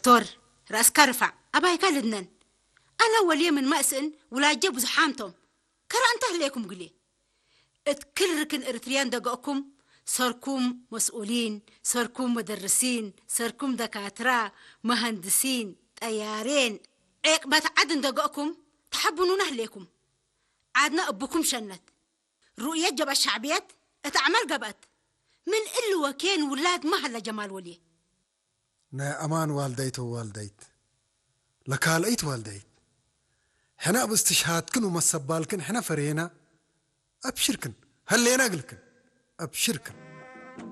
ቶር ራእስካ ርፋዕ ኣባይካ ልድነን። ኣነ ወልየ ምን ማእስእን ውላጀ ብዙሓንቶም ከራ እንተ ህሌኩም ግሌ እትክል ርክን እርትርያን ደገእኩም ሰርኩም መስኡሊን ሰርኩም መደርሲን ሰርኩም ደካትራ መሃንድሲን ጠያሬን ዔቅበት ዓድ እንደገእኩም ተሓብኑና ህሌኩም ዓድና እብኩም ሸነት ሩእየት ጀብአት ሻዕብየት እት አዕማል ገብአት ምን እሊ ወኬን ውላድ ማህለ ጀማል ወልየ። ናይ ኣማን ዋልዳይት ወዋልዳይት ለካልአይት ዋልዳይት ሕነ ኣብ እስትሽሃድክን ወመሰባልክን ሕነ ፈሬና። ኣብሽርክን ሀሌና እግልክን ኣብሽርክን።